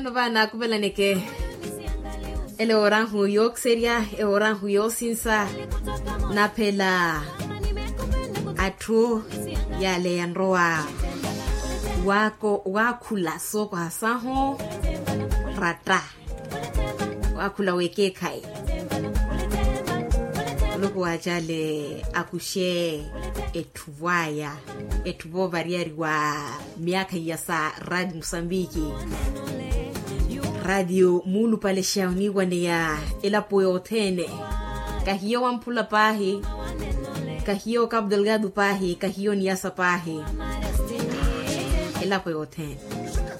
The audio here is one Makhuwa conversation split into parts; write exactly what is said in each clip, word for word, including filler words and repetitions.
Vano vaana akuvelaneke ele orahu yookiserya, eworahu yoosinsa. Naphela atthu yale yanrowa waakhula sookoha sahu ratta, waakhula wekeekhayi. Muluku waacale akuxe etthu vwaya, etthu voovariyari wa myaakha iya sa radio musambiki. Radio muulupalexa oniiwaneya elapo yothene. Kahiyo wamphula paahi, kahiyo kapu delgado paahi, kahiyo niyasa paahi. Elapo yothene.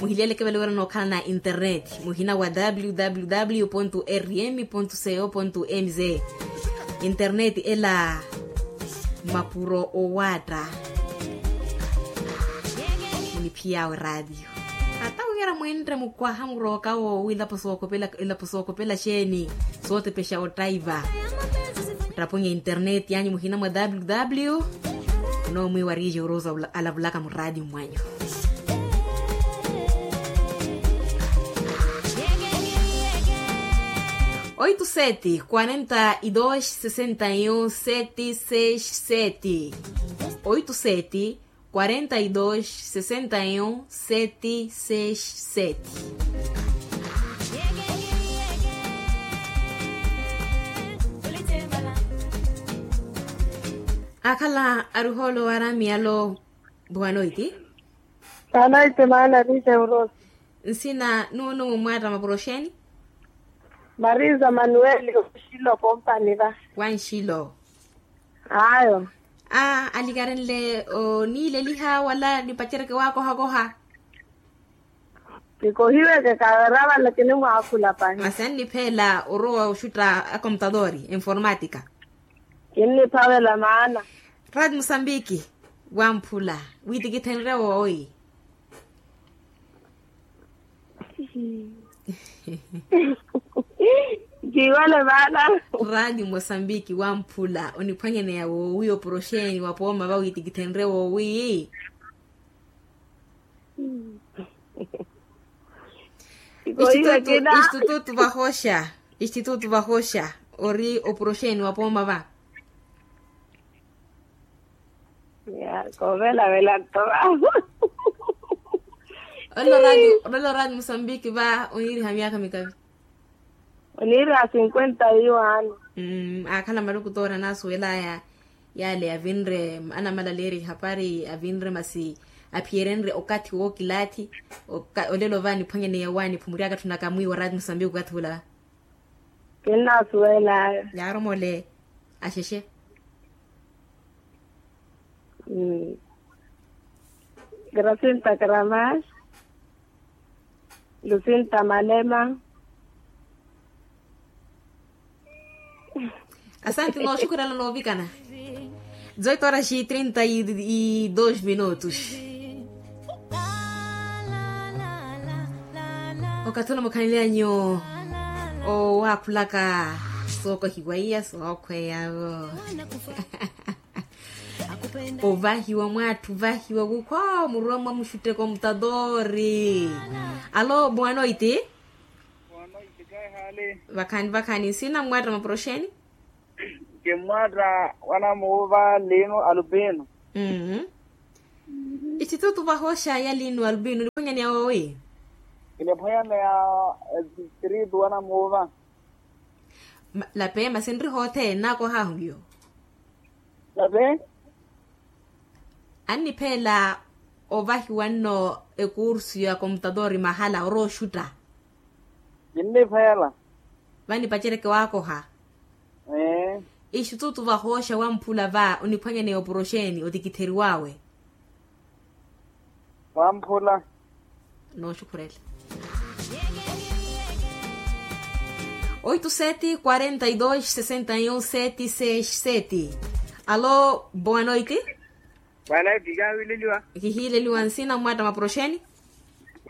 Muhileleke vale wira nookhala na internet, muhina wa www rm co mz. Internet ela mapuro owaatta. Muniphiyaawe radio. Ata wira mwenre mukwaha murooka woowi ilapo sookopela ilapo sookopela xeeni, sootepexa ottaiva. Ottapweya internet yanyu muhina mwa www. Onoomwiiwa riixe orosa alavulaka muraati mwanyu. Oito sete quarenta e dois sessenta e um sete seis sete. Oito sete quarenta e dois sessenta e um sete seis sete. Akhala aruhoolo waramiyalo. Buwanoiti. Buwanoiti maana rite urosi. Nsina nunu mwatta mapuro xeeni? Marisa manueli oxilo kompani va. Wanxilo. Ayo. Aa alikarenle oniileliha wala nipacereke waakohakoha? Kikohiweke kavera vale kinimwaakhula pahi. Masi annipheela orowa oxutta akomputadori informatika. Kinniphavela maana. Raati musambiki wamphula wiitikithenrye woowi. Kiwale maana. Raati musambiki wamphula oniphwanyaneya woowi oporoxeni wapooma va wiitikithenrye woowi. Institutu vahoxa, institutu vahoxa ori oporoxeni wapooma va. Kovelavela nto va. Olelo raati musambiki va oniiriha myaakha mikavi? Oniiriha cinquenta e um ano. Aakhala maluku toora naasuwelaya. Yale avinre anamalaleerya ehapari avinre masi aphiyerenrye okathi wookilaathi. Olelo va nipwanyaneya wa nipumuryaka tthunaka mwiiwa raati musambiki okathi ula. Kinnaasuwelaya. Yaaromole. Axexe. Grasinta karamas. Lusinta malema. Asanti nooxukhurela noovikana. Dezoito horas e trinta e dois minutos. Okathi ula mukhanelyanyu owaakhulaka sookohiwa iya sookhweyavo. Ovahiwa mwaatthi ovahiwa wukhwa muruwa mwa muxutteko mutadori. Alo boa noite. Vakhaani vakhaani nsina mmwatta maporoxeni. Kimmwatta wanamuuva lino alupino. Istitutu vahoxa ya lino alupino niphwanyaneya woowi? Kiniphwanyaneya distritu wanamuuva. Lape masi nri hothene naakohahu yo. Lape. Annipheela ovahiwa nno ekursu ya komputadori mahala orowa oxutta. Kinnipheela. Vanipacereke waakoha. Ee. Ixututu vahooxa wamphula va oniphwanyaneya oporoxeni otikitheriw'awe. Wamphula. Nooxukhurela. Oito sete quarenta e dois sessenta e um sete seis sete. Alo boa noite. Boa noite. Kihiileliwa nsina mmwatta maporoxeni.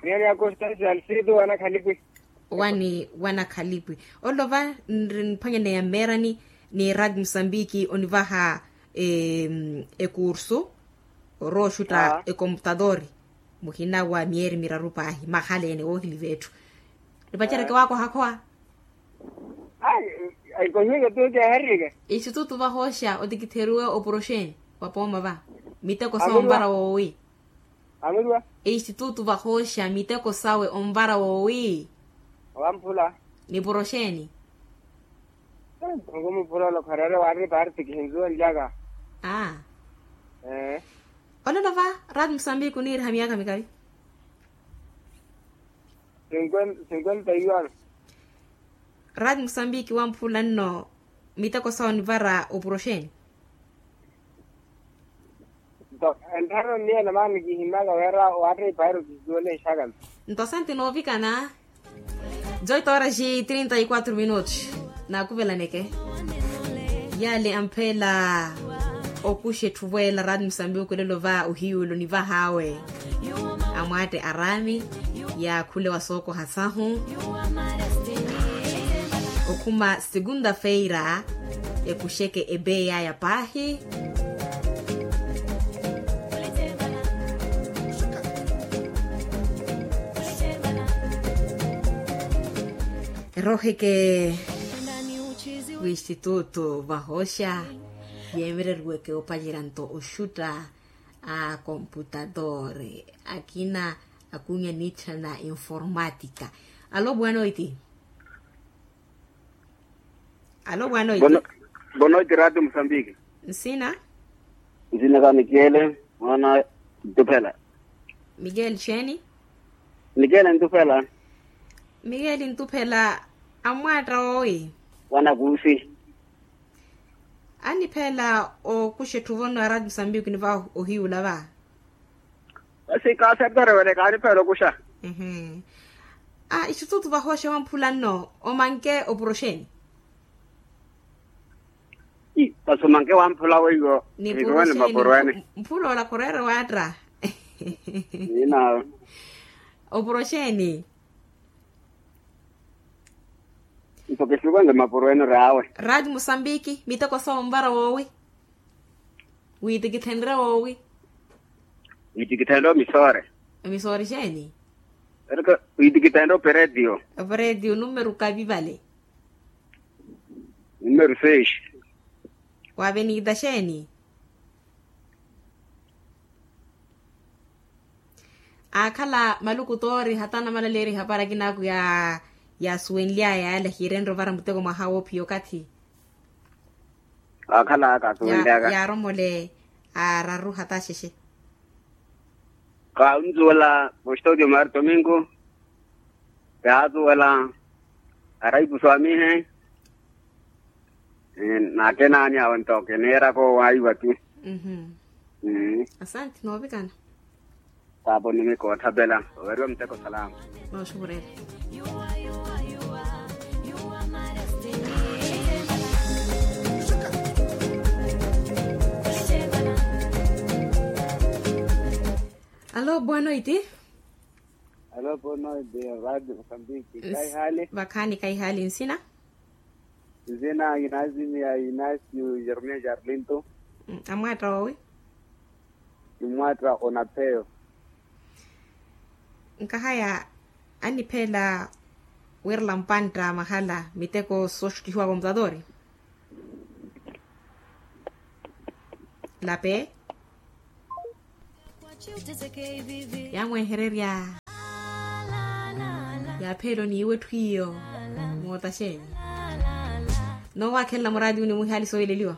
Niyani ya constance alcido wanakhalipwi. Wani wanakhalipwi. Olova nri niphwanyaneya mmeerani ni radio musambiki onivaha ekursu orowa oxutta ekomputadori. Muhina wa myeeri miraru paahi mahala ene woohiliva etthu. Nipacereke waakoha khowa. Ai, ai kohiweke tu keherike. Institutu vahooxa otikitheriwe oporoxeni wa pooma va miteko sawe onvara woowi. Amuriwa. Institutu vahooxa miteko sawe onvara woowi. Wamphula. Niporoxeni. Onkumuphulola okharere wari parti kihinzuwa nlyaka. Aa. Ee. Olelo va rati musambiki oniiriha miyaka mikali. Cinquenta iwano. Rati musambiki wamphula nno miteko sawe onivara oporoxeni. Nto enttharano niyela maani kihimmaka wira waatta ipairo kisuwele nxakami. Nto asante noovikana. Dezoito horas e trinta e quatro minutos. Naakuvelaneke yale ampheela okuxa etthu vweela rati musambiki olelo va ohiyulo nivahaawe. Amwaatte araami yaakhule wa sookoha sahu. Okhuma segunda-feira ekuxeke ebeya ya paahi. Erooheke w'institutu vahooxa yeemereriweke opacerya nto oxutta a komputadore akina akunya niitthana informática. Alo bwanoiti. Alo bwanoiti. Bwanoiti rati musambiki. Nsina? Nsina ka nikele mwana ntuphela. Mikeli xeeni? Nikele ntuphela. Mikeli ntuphela. Amwaatta woowi? Wanakuusi. Anipheela okuxa etthu vonno arati musambiki niva ohiyula va. Asi kaasertari wene kaanipheela okuxa. Institutu vahooxa wamphula nno omanke oporoxeni. Masi omanke wamphula weiwo. Niporoxeni. Mphula ola khureere waatta. Ninawe. Oporoxeni. Nto kisukwenge mapuro ene ori awe. Rati musambiki miteko sawe onvara woowi? Wiitikithenrye woowi? Wiitikithenrye omisoore. Omisoore xeeni? Erika wiitikithenrye operetio. Operetio numeru kavi vale? Numeru seis. Wa avenida xeeni? Aakhala maluku toori hata anamalaleerya ehapari akinaaku yaasuwenly'aya yale ahiirenrye ovara muteko mwaha woophiya okathi. Aakhala aka asuwenly'aka yaaromole araru hata axexe. Kaawunzuwela mustodio mari tomingo. Yaasuwela araipusu amihe. Nakenaani awe nto kiniiraka owaiwa ti. Asante noovikana. Paapa onimika ootthapela oweriwa muteko salama. Nooxukurela. Alo bwanoiti. Alo bwanoiti. Rati musambiki kaihali. Vakhaani kaihali nsina. Nzina kinaasimya inasio jeremia jarlinto. Amwaatta woowi? Kimwaatta onapheyo. Nkahaya anipheela wirela mpantta mahala miteko sooxuttihiwa komputatori. Lape. Yamwehererya yapheelo niiwe etthu iyo. Moota xeeni? Noowakhelela muraati uni muhiali soohileliwa.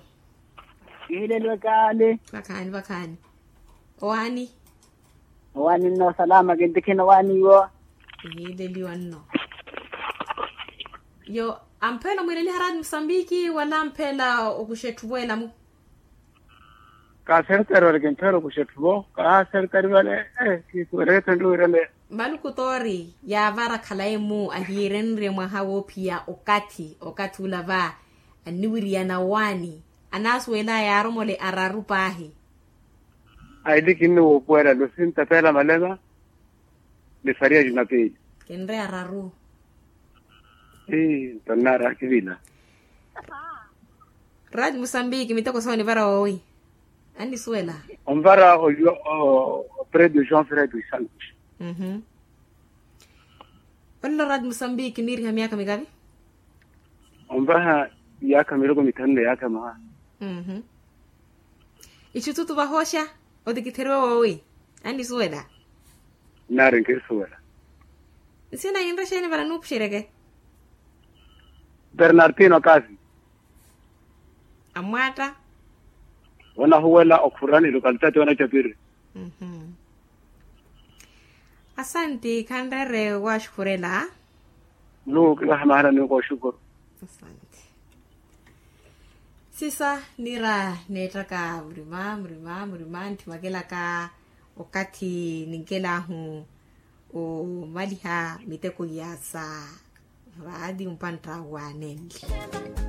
Kihiileliwa kaali. Vakhaani vakhaani. Owaani? Owaani nno salama kintikhina owaani iwo. Kihiileliwa nno. Yo ampheela omwiileliha raati musambiki wala ampheela okuxa etthu vweelamu? Kaasertari vale kimpheela okuxa etthu vo kaasertari vale. Kiikuwereke etthu nluwirele. Maluku toori yaavara khalayi-mu ahiirenrye mwaha woophiya okathi okathi ula va anniwiriyana owaani. Anaasuwel'aya yaaromole araru paahi. Aili kinni woopuwela lusi ntapeela malema. Ni fariya jumapili. Kinre araru. Ii nto nnaari akivila. Rati musambiki miteko sawe onivara woowi? Annisuwela. Onvara opredio joão fred dos santos. Olelo radi musambiki niiriha myaakha mikavi. Onvaha myaakha miloko mithanu na myaakha maha. Itthu tutu vahooxa otikitheriwe woowi. Annisuwela. Nnaari nkirisuwela. Nsina yinre xeeni vale nuupuxereke? Bernardino kasi. Amwaatta. Onahuwela okhurani localidade onacapiri. Asanti khanreere waaxukhurela. Nuu kivaha mahala ni kooxukuru. Asanti. Sisa niira neettaka murima murima murima ntthimakelaka okathi ninkelahu omaliha miteko ya sa vaati mpantta waanenle.